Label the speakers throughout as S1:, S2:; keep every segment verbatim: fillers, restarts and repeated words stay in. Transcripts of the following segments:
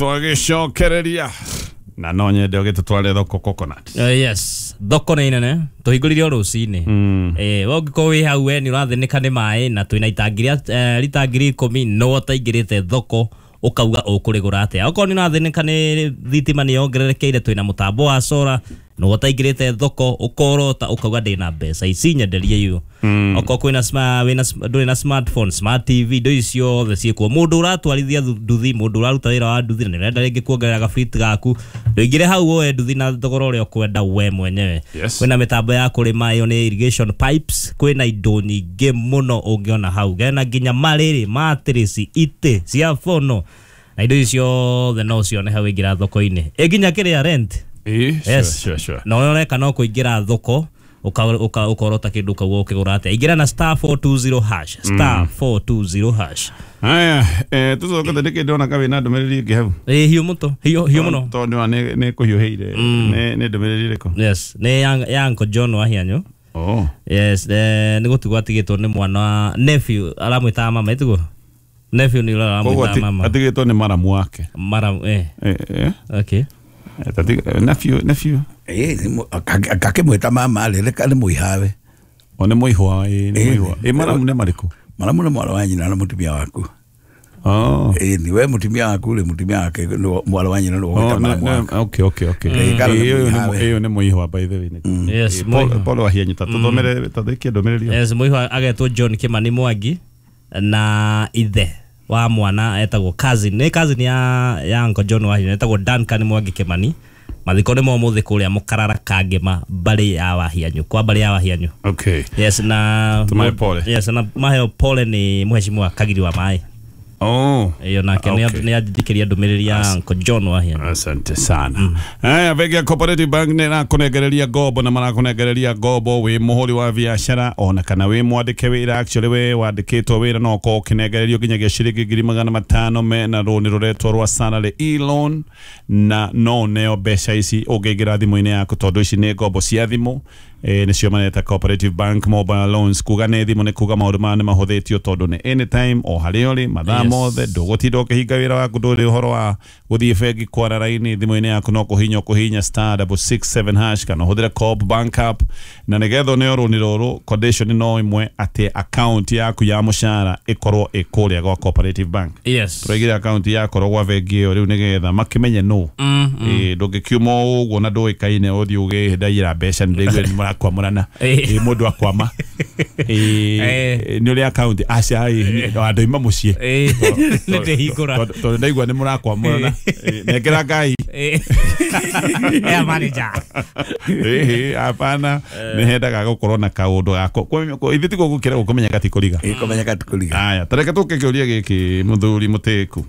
S1: Twagicokereria na no nyende ũgĩtũtware thoko coconut.
S2: Uh, yes, thoko nĩ nene tũhingũrire o rũcinĩ. Eh, we ũngĩkorwo wĩ hau we nĩ ũrathĩnĩka nĩ maĩ na twĩna itangi rĩa eh, rita ngiri ikũmi no ũtaingĩrĩte thoko ũkauga ũkũrĩgũra atĩa. Okorwo nĩ ũrathĩnĩka nĩ thitima nĩ yongererekeire twĩna mũtambo wa solar no ũtaingĩrĩte thoko ũkorota ũkauga ndĩna mbeca ici nyenderie iyo. Okorwo kwĩna sma- wĩna sm- ndũrĩ na smartphone, smart T V, indo ici ciothe ciĩkuo. Mũndũ ũratwarithia thu- nduthi, mũndũ ũraruta wĩra wa nduthi na nĩũrenda rĩngĩ kuongerera gabiti gaku, ndũingĩre hau woe nduthi na thogora ũrĩa ũkwenda we mwenyewe.
S1: Yes.
S2: Kwĩna mĩtambo ya kũrĩma ĩyo nĩ irrigation pipes, kwĩna indo nyingĩ mũno ũngĩona hau, gena nginya marĩrĩ, matress, itĩ cia bono na indo ici ciothe no ũcione hau waingĩra thoko-inĩ. Ĩ nginya kĩrĩa rent.
S1: Eh, sure,
S2: Yes.
S1: sure, sure.
S2: Na ũrĩa ũreka no kũingĩra thoko uka- uka- ũkorota kĩndũ ũkauga ũkĩgũra atĩa. Ingĩra na star four two zero hash, star four two zero hash.
S1: Haya, eh, tũcokete nĩkĩ ndĩrona ka wĩna ndũmĩrĩri ĩngĩ hau?
S2: Ĩ hiũ mũto, hiũ hiũ mũno.
S1: Tondũ nĩwa nĩ nĩ kũhiũhĩire. Nĩ nĩ ndũmĩrĩri ĩrĩkũ?
S2: Yes, nĩ ya ya Uncle John wa Hianyu.
S1: Oh.
S2: Yes, eh, nĩ gũtigwo atigĩtwo nĩ mwana wa nephew, aramwĩtaga mama ĩtiguo? Nephew nĩ ũrĩa
S1: Koguo
S2: aramwĩtaga
S1: ati-
S2: mama.
S1: atigĩtwo nĩ maramu wake.
S2: Maramu, eh.
S1: Eh, eh.
S2: Okay.
S1: Eh, tati- eh, nephew, nephew.
S3: Eh, nĩ mũ- aka- akakĩmwĩta mama rĩ, reka nĩ mũihawe.
S1: O nĩ mũihwa, ĩ, nĩ
S3: Eh.
S1: mũihwa. Ĩ maramu nĩ marĩkũ?
S3: Maramu nĩ mwana wa nyina na mũtumia waku.
S1: Oh.
S3: Ĩ, ni we mũtumia waku rĩ, mũtumia wake nĩ mwana wa nyina nĩ
S1: Oh,
S3: ũgwĩta
S1: ne-
S3: maramu
S1: ne-
S3: waku.
S1: okay, okay, okay.
S3: Mm. Kana nĩ
S1: Ĩ, ĩyo nĩ
S3: mũihawe.
S1: ĩyo nĩ mũihwa by the way. Nĩ-
S2: Yes,
S1: Ĩ, Paul
S2: mũihwa.
S1: Paul Wahianyu, ta tũthomere, ta thĩkie ndũmĩrĩri ĩyo.
S2: Yes, mũihwa agetwo John Kimani Mwangi na ithe wa mwana etagwo cousin, nĩ cousin ya ya Uncle John wa Hianyu, etagwo Duncan Mwangi Kimani. Mathiko nĩ ma ũmũthĩ kũrĩa Mũkarara Kangema mbarĩ ya Wahianyu, kwa mbarĩ ya Wahianyu.
S1: Okay.
S2: Yes, na
S1: Tumahe pole.
S2: Yes, na maheo pole nĩ mheshimiwa Kagiri wa Maĩ.
S1: Oh.
S2: Iyo nake nĩ
S1: Okay.
S2: nĩ anjĩtĩkĩria ndũmĩrĩri ya Uncle John wa Hianyu.
S1: Asante sana. Haya, bengi ya Cooperative Bank nĩ ĩrakũnengereria ngombo na marakũnengereria ngombo wĩ mũhũri wa biacara ona kana wĩ mwandĩke wĩra. Actually we wandĩkĩtwo wĩra no ũkorwo ũkĩnengererio nginyagia ciringi ngiri magana matano mena rũni rũretwo rwa salary e-loan, na no ũneo mbeca ici ũngĩingĩra thimũ-inĩ yaku tondũ ici nĩ ngombo cia thimũ. Eh, nĩcio mareta Cooperative Bank Mobile Loans. Kuga nĩ thimũ nĩ kuga maũndũ maya nĩ mahũthĩtio tondũ nĩ anytime o harĩa ũrĩ mathaa
S2: Yes.
S1: mothe, ndũgũtinda ũkĩhinga wĩra waku, ndũrĩ ũhoro wa gũthiĩ bengi kwara raini. Thimũ-inĩ yaku no kũhinya ũkũhinya star double six seven hash kana ũhũthĩre Co-op Bank app, na nĩgetha ũneo rũni rũrũ condition no ĩmwe atĩ account yaku ya mũcara ĩkorwo ĩ kũrĩa gwa Cooperative Bank.
S2: Yes.
S1: Tũraigire account yakorwo gwa bengi ĩyo rĩu nĩgetha makĩmenye nũ.
S2: Mm, mm.
S1: Ĩ, ndũngĩkiuma o ũguo na ndũĩkaine ũthiĩ ũgĩndaira mbeca nĩ ndĩraigua nĩ mũrakwamũrana.
S2: Eh.
S1: Ĩ, mũndũ akwama. Ĩ,
S2: Eh.
S1: nĩ ũrĩa account aca, ĩ, andũ aima mũciĩ.
S2: Eh, nĩ ndĩhingũra.
S1: Tondũ tondũ ndaigua nĩ mũrakwamũrana. Ĩ, nengera Ngai.
S2: Eh. Eh, manager.
S1: Ĩ, hapana, nĩ hendaga gũkorwo na kaũndũ gako. Ithuĩ tiguo gũkĩra gũkũmenya gatikũriga.
S3: Ĩ, kũmenya gatikũriga.
S1: Aya, ta reke tũke kĩũria gĩkĩ mũthuri mũtĩku.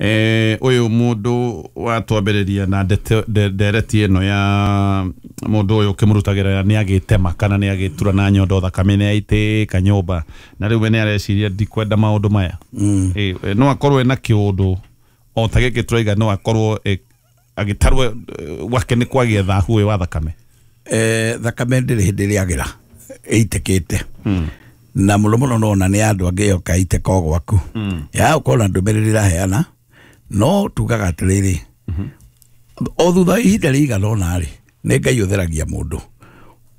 S1: Eh, ũyũ mũndũ watwambĩrĩria na ndete- nde- ndereti ĩno ya mũndũ ũyũ ũkĩmũrutagĩra nĩ agĩtema kana nĩ agĩtura na nyondo thakame nĩ aitĩka nyũmba na rĩu we nĩ areciria ndikwenda maũndũ maya. Eh, eh, no akorwo ena kĩũndũ o ta gĩkĩ tũraiga, no akorwo eh, agĩtarwo eh, gwake nĩ kwagĩa thahu ũyũ wa thakame.
S3: Eh, thakame ndĩrĩ hĩndĩ ĩrĩagĩra ĩitĩkĩte na mũno mũno nona nĩ andũ angĩ yoka itĩka o gwaku ya ũkona ndũmĩrĩri ĩraheana, no tugaga atĩrĩrĩ, o thutha wa ihinda rĩigana ũna rĩ, nĩ Ngai ũtheragia mũndũ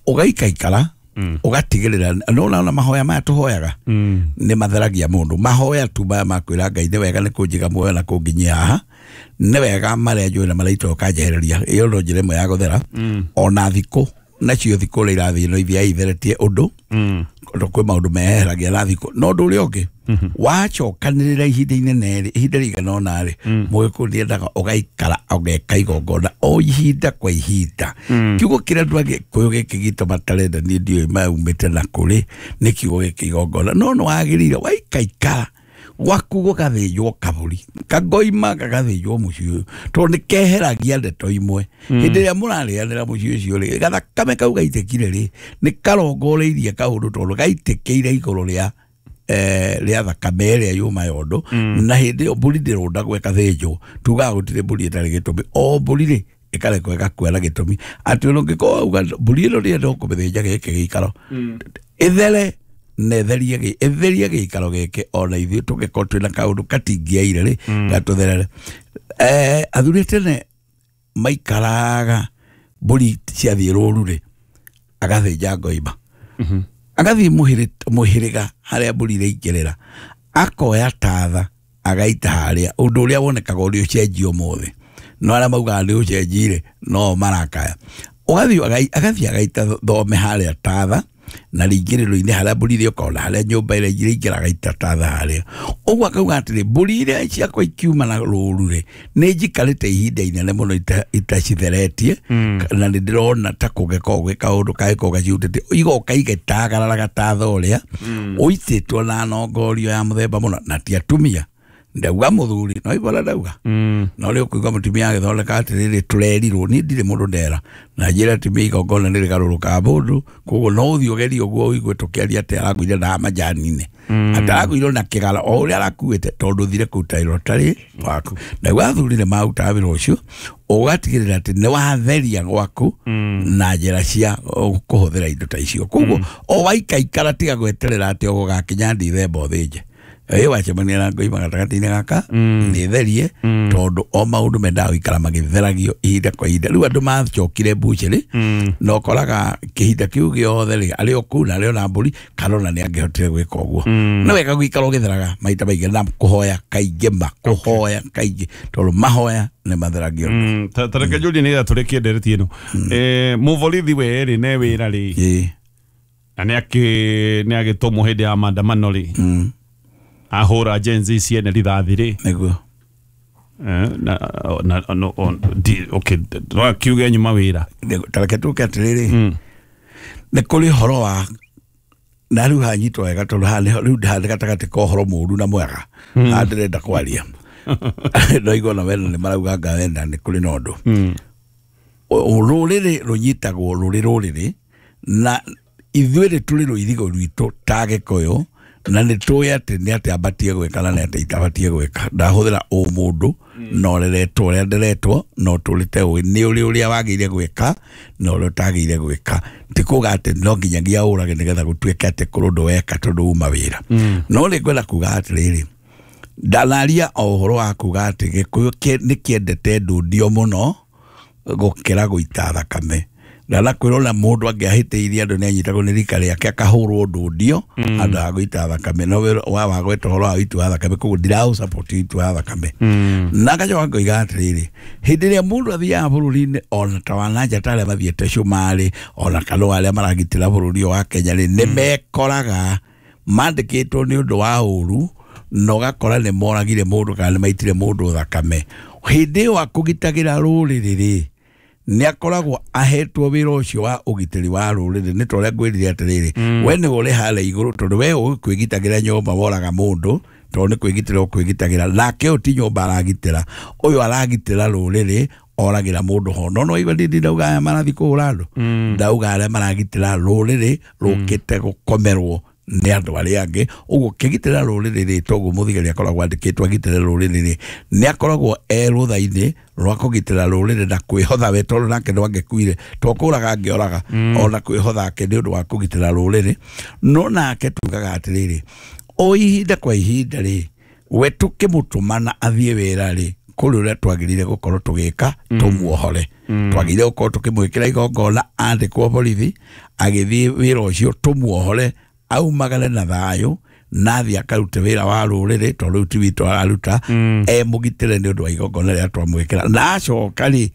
S3: ũgaikaikara ũgatigĩrĩra nona ona mahoya maya tũhoyaga nĩ matheragia mũndũ. Mahoya tu maya ma kwĩra Ngai nĩ wega nĩ kũnjiga muoyo na kũnginyia haha, nĩ wega marĩa njũĩ na marĩa itoĩ ũkanjehereria, ĩyo no njĩra ĩmwe ya gũthera. Ona thikũ nacio thikũ ũrĩa irathiĩ no ithiaga itheretie ũndũ tondũ kwĩ maũndũ meheragia na thikũ. No ũndũ ũrĩa ũngĩ wacokanĩrĩra ihinda inene rĩ, ihinda rĩigana ũna rĩ, mũgĩkũyũ nĩendaga ũgaikara ũgeka igongona o ihinda kwa ihinda. Kiugo kĩrĩa andũ a Gĩkũyũ gĩkĩ gitũ matarenda niĩ ndiũĩ maumĩte na kũrĩ, nĩ kiugo gĩkĩ igongona. No nĩ wagĩrĩire waikaikara gwaku gũgathĩnjwo kabũri kagoima gagathĩnjwo mũciĩ ũyũ tondũ nĩ keheragia ndeto imwe. Hĩndĩ ĩrĩa mũrarĩanĩra mũciĩ ũcio rĩ, gathakame kau gaitĩkire rĩ, nĩ karongoreirie kaũndũ tondũ gaitĩkĩire igũrũ rĩa eh, rĩa thakame ĩrĩa yuma yondo. Na hĩndĩ ĩyo mbũri ndĩrũndagwo ĩkathĩnjwo, tugaga gũtirĩ mbũri ĩtarĩ gĩtũmi, o mbũri rĩ ĩkarekwo ĩgakua na gĩtũmi atĩ ona ũngĩkorwo wauga mbũri ĩno ndĩrenda kũmĩthĩnja gĩkĩ gĩikaro ĩthere na ĩtherie gĩ ĩtherie gĩikaro gĩkĩ ona ithuĩ tũngĩkorwo twĩna kaũndũ katingĩaire rĩ gatũtherere. Eh, athuri tene maikaraga mbũri ciathiĩ rũru rĩ agathĩnja ngoima agathiĩ mũhĩrĩga harĩa mbũri iraingĩrĩra akoya tatha agaita harĩa ũndũ ũrĩa wonekaga ũrĩ ũcenjio ũmũthĩ no arĩa maugaga nĩ ũcenjire no marakaya ũgathiĩ agathiĩ agaita thome harĩa tatha na rĩingĩrĩro-inĩ harĩa mbũri irĩũka ona harĩa nyũmba ĩrĩa iraingĩra agaita tatha harĩa ũguo akauga atĩrĩ mbũri iria ciakwa ikiuma na rũru rĩ nĩ njikarĩte ihinda inene mũno itacitheretie na nĩ ndĩrona ta kũngĩkorwo gwĩ kaũndũ kangĩkorwo gacihutĩtie igoka igĩtagararaga tatha ũrĩa ũitĩtwo na nongorio ya mũthemba mũno na ti atumia ndauga mũthuri no ibora ndauga no rĩu ũkũigua mũtumia agĩthondeka atĩrĩrĩ tũrerirwo niĩ ndirĩ mũndũ ndera na njĩra atumia igongona nĩ rĩgarũrũkaga mũndũ koguo no ũthiĩ ũgerie ũguo ũigue tũkĩaria atĩ arakuire na majani-inĩ atĩ arakuire na kĩgara o ũrĩa arakuĩte tondũ ũthire kũruta wĩra ũtarĩ waku naguo athuri nĩ marutaga wĩra ũcio ũgatigĩrĩra atĩ nĩ watheria gwaku na njĩra cia kũhũthĩra indo ta icio koguo o waikaikara tiga gweterera atĩ ũgũgakinya Ndithemba ũthĩnje ĩ wacemania na ngoima gatagatĩ-inĩ gaka nĩ therie tondũ o maũndũ mendaga gũikara magĩtheragio ihinda kwa ihinda rĩu andũ macokire mbucĩrĩ na ũkoraga kĩhinda kĩu gĩothe rĩ arĩ o kũu na arĩ o na mbũri kana ona nĩ angĩhotire gwĩka ũguo nĩ wega gũikara ũgĩtheraga maita maingĩ na kũhoya kaingĩ ma kũhoya kaingĩ tondũ mahoya nĩ matheragio.
S1: Ta reke njũrie nĩgetha tũrĩkie ndereti ĩno mũborithi we rĩ ne wĩra rĩ na nĩ agĩtũmwo hĩndĩ ya maandamano rĩ ahura Gen Z ciene rithathi rĩ
S3: nĩguo
S1: na na no di okay no kiuge nyuma wĩra
S3: ta reke tũke atĩrĩrĩ nĩ kũrĩ ũhoro wa na rĩu hanyitwo wega tondũ haha rĩu ndĩhandĩ gatagatĩ ka ũhoro mũũru na mwega haha ndĩrenda kwaria ndaigua ona wena nĩ marauga anga wena nĩ kũrĩ na ũndũ rũrĩrĩ rũnyitagwo rũrĩ rũrĩrĩ na ithuĩ rĩ tũrĩ rũirigo rwitũ ta Gĩkũyũ na nĩ tũĩ atĩ nĩ atĩ ambatie gwĩka na nĩ atĩ itabatie gwĩka ndahũthĩra ũmũndũ na ũreretwo ũrĩa nderetwo na ũtũrĩte ũĩ nĩ ũrĩ ũrĩa wagĩrĩire gwĩka na ũrĩa ũtagĩrĩire gwĩka ti kuga atĩ no nginyagia ũrage nĩgetha gũtuĩke atĩ kũrĩ ũndũ weka tondũ uma wĩra no nĩ ngwenda kuga atĩrĩrĩ ndanaria o ũhoro wa kuga atĩ Gĩkũyũ nĩ kĩendete ndundio mũno gũkĩra gũita thakame ndanakwĩrwo na mũndũ angĩahĩtĩirie andũ nĩ anyitagwo nĩ rika rĩake akahũrwo ndundio handũ ha gũita thakame no wa wagweta ũhoro wa ũiti wa thakame koguo ndiraũsupport ũiti wa thakame na ngacoka ngoiga atĩrĩrĩ hĩndĩ ĩrĩa mũndũ athiaga bũrũri-inĩ ona ta wa nanja ta arĩa mathiĩte Cumarĩ ona kana arĩa maragitĩra bũrũri ũyũ wa Kenya rĩ nĩ mekoraga mandĩkĩtwo nĩ ũndũ wa ũru na ũgakora nĩ moragire mũndũ kana nĩ maitire mũndũ thakame hĩndĩ ĩyo akũgitagĩra rũrĩrĩ rĩ nĩ akoragwo ahetwo wĩra ũcio wa ũgitĩri wa rũrĩrĩ nĩ ta ũrĩa ngwĩrire atĩrĩrĩ we nĩwe ũrĩ harĩa igũrũ tondũ we ũĩ kwĩgitagĩra nyũmba woraga mũndũ tondũ nĩ kwĩgitĩra ũkwĩgitagĩra nake ũyũ ti nyũmba aragitĩra ũyũ aragitĩra rũrĩrĩ oragĩra mũndũ ho no no iwe ndindi ndauga aya marathiĩ kũhũra andũ ndauga arĩa maragitĩra rũrĩrĩ rũkĩte gũkomerwo nĩ andũ arĩa angĩ ũguo kĩgitĩra rũrĩrĩ rĩ toguo mũthigari akoragwo andĩkĩtwo agitĩre rũrĩrĩ rĩ nĩ akoragwo e rũtha-inĩ rwa kũgitĩra rũrĩrĩ na kwĩhotha we tondũ nake no angĩkuire to kũraga angĩoraga ona kwĩhotha ake nĩ ũndũ wa kũgitĩra rũrĩrĩ no nake tugaga atĩrĩrĩ o ihinda kwa ihinda rĩ we tũkĩmũtũmana athiĩ wĩra rĩ kũrĩ ũrĩa twagĩrĩire gũkorwo tũgĩka tũmuohore twagĩrĩire gũkorwo tũkĩmwĩkĩra igongona andĩkwo borithi agĩthiĩ wĩra ũcio tũmuohore aumagare na thayũ na athiĩ akarute wĩra wa rũrĩrĩ tondũ rĩu ti witũ araruta e mũgitĩre nĩ ũndũ wa igongona rĩrĩa twamwĩkĩra na acoka rĩ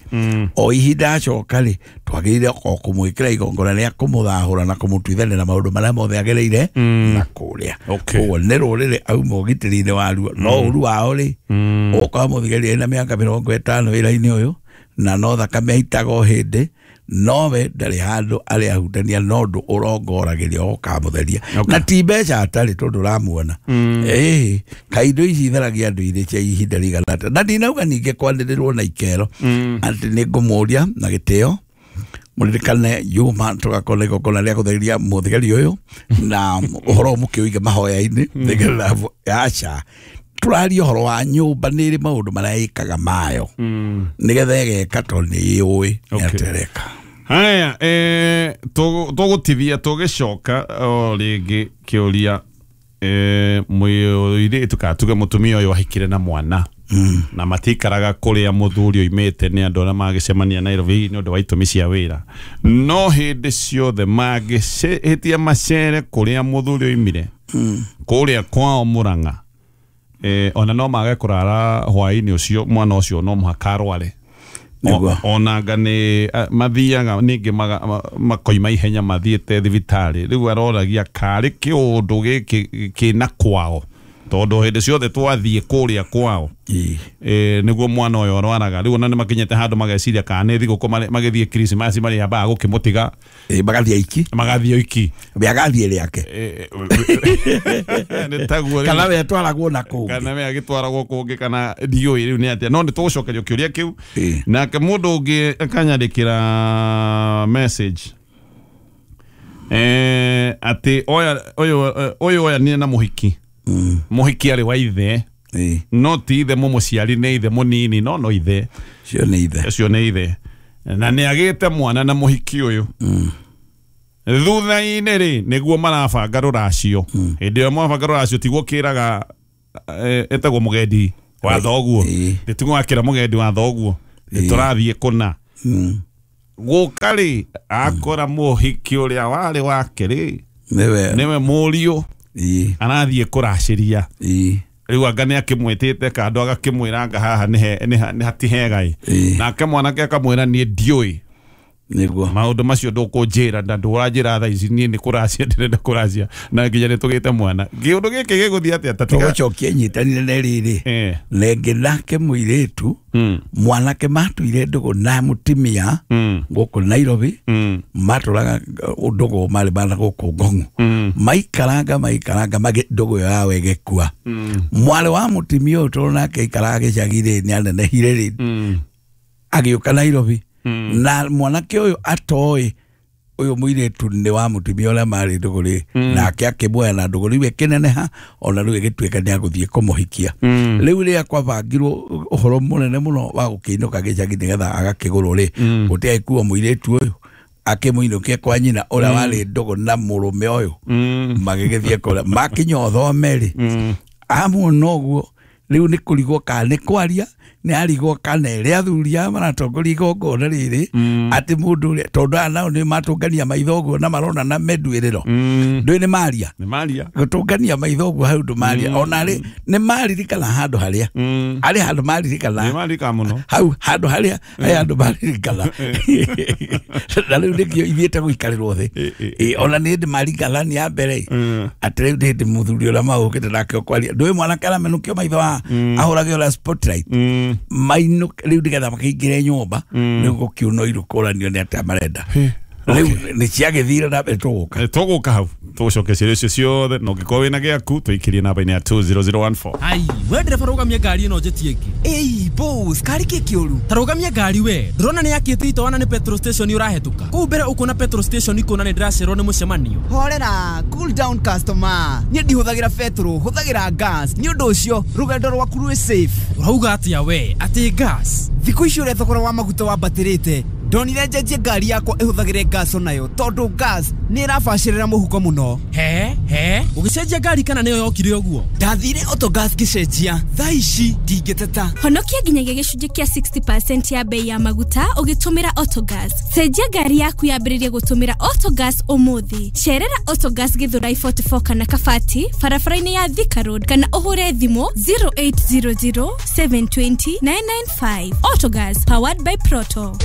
S3: o ihinda acoka rĩ twagĩrĩire o kũmwĩkĩra igongona rĩa kũmũthahũra na kũmũtuithania na maũndũ marĩa mothe agereire na kũrĩa koguo nĩ rũrĩrĩ auma ũgitĩri-inĩ waruo no ũru wao rĩ ũgũkora mũthigari ena mĩaka mĩrongo ĩtano wĩra-inĩ ũyũ na no thakame aitaga o hĩndĩ nowe ndarĩ handũ arĩ ahutania no ũndũ ũrongoragĩria ũkamũtheria na ti mbeca atarĩ tondũ ũramuona ĩĩ kaindo ici itheragia andũ irĩ cia ihinda rĩigana atĩa na ndinauga ningĩ kwanĩrĩrwo na ikero atĩ nĩ ngũmũria na gĩtĩo mũririkane Juma tũgakorwo na igongona rĩa gũtheria mũthigari ũyũ na ũhoro ũyũ mũkĩũige mahoya-inĩ nĩgetha aca tũraria ũhoro wa nyũmba nĩ ĩrĩ maũndũ marĩa ĩkaga mayo nĩgetha ĩgeka tondũ nĩ ĩũĩ nĩ atĩ ĩreka.
S1: Haya, eh tũgũtithia tũgĩcoka o rĩngĩ kĩũria eh mũirĩtu kana tuge mũtumia ũyũ ahikire na mwana na matikaraga kũrĩa mũthuri oimĩte nĩ andũ arĩa magĩcemania Nairobi nĩ ũndũ wa itũmi cia wĩra, no hĩndĩ ciothe mangĩhĩtia macere kũrĩa mũthuri oimire kũrĩa kwao Murang'a, eh ona no mage kũrara hwaĩ-inĩ ũcio mwana ũcio no mũhaka arware. Onanga nĩ mathiaga ningĩ makoima ihenya mathiĩte thibitarĩ. Rĩu aroragia karĩ kĩũndũ gĩkĩ kĩna kwao, tondũ hĩndĩ ciothe twathiĩ kũrĩa kwao eh nĩguo mwana ũyũ arwaraga. Rĩu ona nĩ makinyĩte handũ mageciria kana nĩ thigũkũ magĩthiĩ Krismasi marĩambaga gũkĩmũtiga
S3: magathiĩ iki
S1: magathiĩ iki
S3: we agathiĩ rĩake
S1: nĩ taguo
S3: kana we atwaragwo na kũngĩ
S1: kana we agĩtwaragwo kũngĩ kana ndiũĩ rĩu nĩ atĩa. No nĩ tũgũcokerio kĩũria kĩu nake mũndũ ũngĩ akanyandĩkĩra message eh atĩ oya ũyũ ũyũ oyanire na mũhiki mũhiki arĩ wa ithe no ti ithe mũmũciari nĩ ithe mũnini no no ithe
S3: cio nĩ ithe
S1: cio nĩ ithe na nĩ agĩte mwana na mũhiki ũyũ. Thutha-inĩ rĩ nĩguo marabanga rũracio. Hĩndĩ ĩyo mwabanga rũracio tiguo kĩraga etagwo mũgendi wa thoguo, tiguo wakĩra mũgendi wa thoguo tũrathiĩ kũna gũka rĩ akora mũhiki ũrĩa warĩ wake rĩ nĩwe mũriũ arathiĩ kũracĩria. Rĩu anga nĩ akĩmwĩtĩte kando agakĩmwĩra anga haha nĩ hatihega ĩ, nake mwanake akamwĩra niĩ ndiũĩ
S3: nĩguo
S1: maũndũ macio ndũkũnjĩra na ndũranjĩra thaa ici niĩ nĩ kũracia ndĩrenda kũracia na nginya nĩ tũgĩte mwana. Kĩũndũ gĩkĩ gĩgũthiĩ atĩa?
S3: Tũgũcokia nyitanire na rĩrĩ rĩngĩ nake mũirĩtu mwanake matuire ndũgũ na mũtumia gũkũ Nairobi, matũraga ndũgũ marĩ mana gũkũ Ngong'u, maikaranga maikaranga ndũgũ ĩyo yao ĩgĩkua. Mwarĩ wa mũtumia ũyũ tondũ nake aikaraga gĩcagi rĩ nĩ anenehire rĩ agĩũka Nairobi na mwanake ũyũ atoĩ ũyũ mũirĩtu nĩ wa mũtumia ũrĩa marĩ ndũgũ rĩ, nake akĩmuoya na ndũgũ rĩu ĩkĩneneha ona rĩu ĩgĩtuĩka nĩ agũthiĩ kũmũhikia. Rĩu rĩrĩa kwabangirwo ũhoro mũnene mũno wa gũkĩinũka gĩcagi nĩgetha agakĩgũrwo rĩ, gũtiagĩkuo mũirĩtu ũyũ akĩmũinũkia kwa nyina ũrĩa warĩ ndũgũ na mũrũme ũyũ, magĩgĩthiĩ kũrĩa makinya ũthome rĩ amuona ũguo rĩu nĩ kũrigwo kana nĩ kwaria nĩ arigwo kana ĩrĩa athuri aya maratongoria igongona rĩrĩ atĩ mũndũ ũrĩa tondũ aya nao nĩ matũngania maitho ũguo na marona na menduĩrĩro ndũĩ nĩ maria gũtũngania maitho ũguo hau ndũmaria ona rĩ nĩ maririkana handũ harĩa arĩ handũ maririkana hau handũ harĩa harĩ handũ maririkana na rĩu nĩkĩo ithiĩte gũikarĩrwo thĩ. Ona nĩ hĩndĩ maririkana nĩ ya mbere atĩ rĩu nĩ hĩndĩ mũthuri ũrĩa magũkĩte nake ũkwaria ndũĩ mwanake aramenũkio maitho haha ahũrage ũrĩa spotlight mainũ rĩu nĩgetha makĩingĩre nyũmba rĩu gũkiuna irũ kũranio nĩ atĩa marenda rĩu nĩ ciagĩthire na mbere tũgũka
S1: tũgũka hau tũgũcokia ciũria icio ciothe na ũngĩkorwo wĩna gĩaku tũikĩrie namba-inĩ ya two zero zero one four.
S4: Ai we ndereba rũgamia ngari ĩno njĩtie ĩngĩ.
S5: Ĩi boss kari kĩ kĩũru?
S4: Ta rũgamia ngari we ndĩrona nĩ yakĩte itoana nĩ petrol station ũrahetũka kũu mbere ũkuona petrol station ikuona nĩ ndĩracerwo nĩ mũcemanio.
S5: Horera, cool down customer, niĩ ndihũthagĩra petrol, hũthagĩra gas, nĩ ũndũ ũcio rũgendo rwaku rwĩ safe.
S4: Ũrauga atĩa we atĩ gas?
S5: Thikũ ici ũrĩa thogora wa maguta wambatĩrĩte ndonire njenjie ngari yakwa ĩhũthagĩre gas onayo tondũ gas nĩ ĩrabacĩrĩra mũhuko mũno.
S4: He he ũgĩcenjia ngari kana nĩyo yokire ũguo?
S5: Ndathire Autogas ngĩcenjia thaa ici ndingĩteta.
S6: Honokia nginyagia gĩcunjĩ kĩa sixty percent ya bei ya maguta ũgĩtũmĩra Autogas. Cenjia ngari yaku yambĩrĩrie gũtũmĩra Autogas ũmũthĩ. Cerera Autogas Githurai forty-four kana Kabati barabara-inĩ ya Thika Road kana ũhũre thimũ zero eight zero zero seven two zero nine nine five. Autogas powered by Proto.